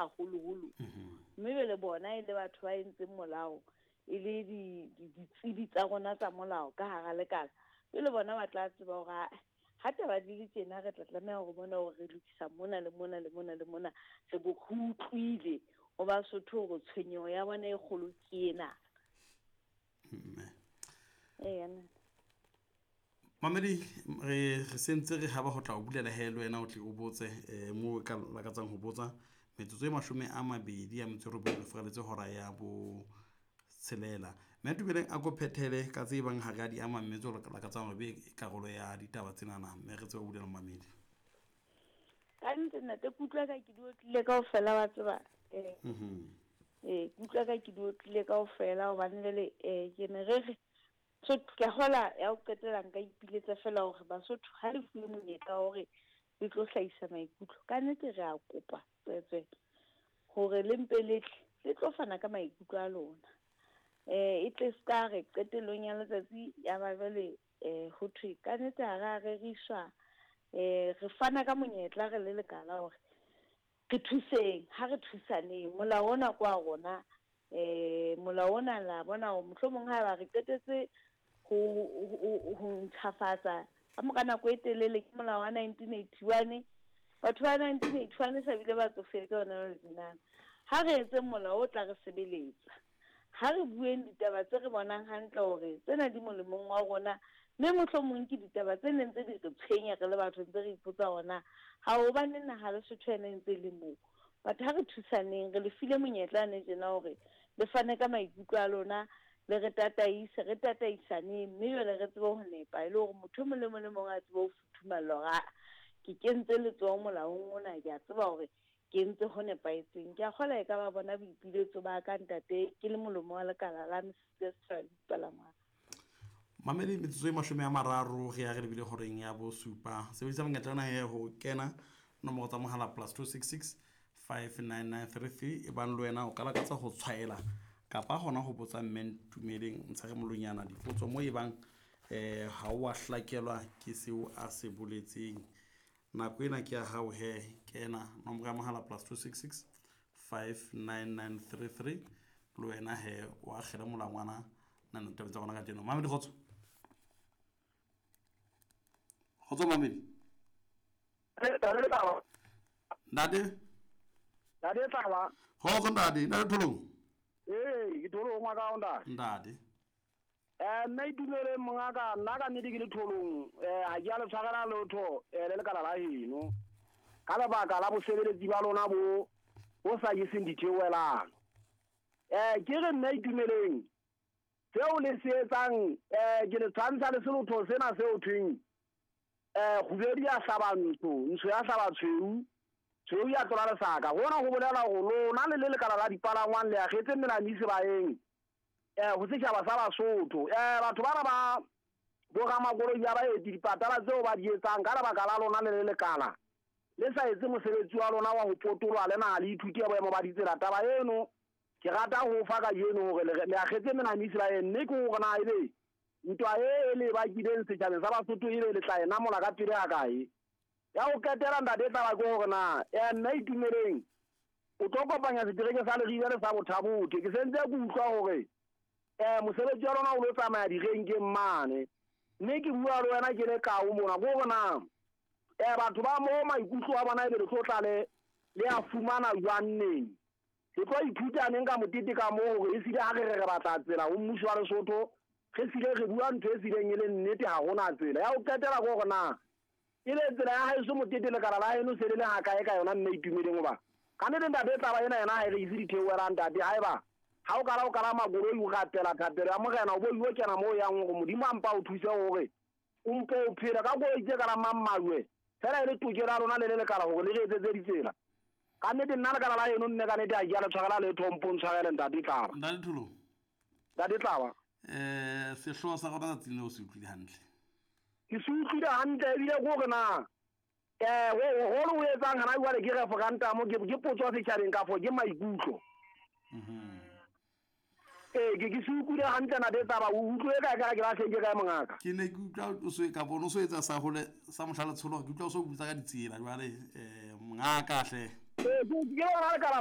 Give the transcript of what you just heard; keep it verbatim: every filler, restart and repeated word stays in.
haholoholo. Mme jwale bona e le batho ba entseng molao, e le ditsebi tsa rona tsa molao ka hara lekala. Jwale bona ba tla tseba hore ha taba di le tjena re tla tlameha hore bona hore re lokisa mona le mona le mona le mona. Re bo utlwile ho Basotho hore tshwenyeho ya bona e kgolo ke ena. Eya. Mamedi, re re sentse re haba ho tla o bulela he le wena o tle o botse um moo o ka lakatsang ho botsa. Metsotso e mashome a mabedi a metso e robong re furaletse hora ya bo tshelela. Mme Tumeleng a ko phethele ka tse bang ha re a di ama mme tseo lakatsang hore be karolo ya ditaba tsenana, mme re tsebe ho bulela mamedi. Ka nnete ntate, ke utlwa ka ke di otlile kaofela wa tseba. Eh eh ke utlwa ka ke di otlile kaofela hobane jwale eh ke ne re re so ke hola ya ho qetela nka ipiletsa fela hore Basotho ha le fuwe monyetla wa hore le tlo hlahisa maikutlo. Ka nnete re a kopa tswetswe hore le mpe le tle le tlo fana ka maikutlo a lona. Eh e tle ska re qetellong ya letsatsi ya ba jwale eh ho thwe ka nnete ha re a reriswa. Eh re fana ka monyetla re le lekala hore re thuseng, ha re thusaneng. Molao ona kwa rona, eh molao ona la bona hore mohlomong ha ba re qetetse ho ho ntjhafatsa ka mora nako e telele ke molao wa nineteen eighty-one. Batho ba nineteen eighty-one sa bile ba tsofetse hona jwale tjenana. Ha re etse molao o tla re sebeletsa. Ha re bueng ditaba tse re bonang hantle hore tsena di molemong wa rona, mme mohlomong ke ditaba tse neng tse di re tshwenya re le batho ntse re ipotsa hona ha hobane naha Lesotho ena e ntse le moo. Batho ha re thusaneng, re le file monyetla ne tjena hore le fane ka maikutlo a lona, le re tataise, re tataisaneng, mme jwale re tsebe ho nepa e le hore motho e mong le mong le mong a tsebe ho futhumalla hore a ke kentse letsoho molaong ona, ke a tseba hore ke entse ho nepahetseng. Ke a kgolwa e ka ba bona boipiletso ba ka ntate, ke le molomo wa lekala la mesebetsi ya setjhaba le dipalangwang. Mamedi, metsotso e mashome a mararo re ya re lebile horeng ya bosupa. Sebedisa monyetla ona he ho kena nomoro tsa mohala plus two six six five nine nine three three. E bang le wena o ka lakatsa ho tshwaela kapa hona ho botsa mme Ntumeleng Ntshere Molonyana dipotso mo e bang eh ha o a hlakelwa ke seo a se boletseng. Nako ena ke ya hao he, kena nomoro ya mohala plus two six six five nine nine three three. Le wena he o akgele molangwana nna tabeng tsa rona kajeno. Mamedi, kgotso. Kgotso Mamedi. Ntate. Ntate Tlaba. Kgotso ntate, ntate Tholong. Ee, ke Tholong wa ka ntate. Ntate. Eh nna itumele mongaka, nna ka nnete ke le Tholong, eh ha ke a le tshwarela lotho eh le lekala la heno. Ka lebaka la bosebeletsi ba lona bo bo sa jeseng ditheohelang. Eh ke re nna itumeleng seo le se etsang, eh ke le tshwantsha le selotho sena seo thweng eh kgubedi ya hlaba ntsho, ntsho ya hlaba tshweu, tshweu ya tlola lesaka. Hona ho bolela hore lona le le lekala la dipalangwang le akgetse melane sebaeng eh ho setjhaba sa Basotho. Eh batho bana ba bo ramakoloi ya baeti dipatala tseo ba di etsang ka lebaka la lona le le lekala le sa etse mosebetsi wa lona wa ho potoloha le naha le ithuti ya boemo ba ditsela. Taba eno ke rata ho fa kajeno hore le akgetse melane sebaeng, mme ke hore na ebe ntwa e le bakileng setjhabeng sa Basotho ebe le tla e namola ka pele ha kae. Ya ho qetela ntate taba ke hore na eh nna itumeleng o tlo kopanya setereke sa Leribe le sa Bothabothe. Ke sentse ke utlwa hore eh mosebetsi wa lona o lo tsamaya direnkeng mane, mme ke bua le wena ke le kao mona ke hore na eh batho ba mo maikutlo a bona ebe le tlo tla le le a fumana jwang neng. Re tlo ithuta neng ka motete ka moo hore esile ha re re re batla tsela ho mmuso wa Lesotho, re sile re bua ntho e sileng e le nnete, ha hona tsela. Ya ho qetela ke hore na e le tsela ya haeso motete lekala la heno se le le ha kae ka yona mme itumeleng hoba ka nnete ntate taba ena yena ha e re ise ditheohelang ntate. Haeba ha o kala o kalama koloi o rapela thapelo ya morena o bo o kena moo yang hore Modimo a mpa o thuse hore o mpo o phela ka koloi tse kalamang majwe fela e le tokelo ya lona le le lekala hore le re etsetse ditsela. Ka nnete nna lekala la heno mme ka nnete ha ke a le tshwarela letho, mpo ntshwarele ntate Tlaba. Ntate Tholong. Ntate Tlaba. Eh sehlooho sa rona tsatsing leo o se utlwile hantle. Ke se utlwile hantle ebile ke hore na eh holo o etsang hana jwale ke referendum, ke ke potso setjhabeng kafo ke maikutlo. Mhm. Eh ke ke se utlwile hantle ntate Tlaba, o utlwe ka ka ke lahlehile kae mongaka? Ke ne ke utlwa o so ka bona o so etsa sa hole sa mohla letsholo, ke utlwa o so butsa ka ditsela jwale eh mongaka hle. Eh ke ke yona lekala la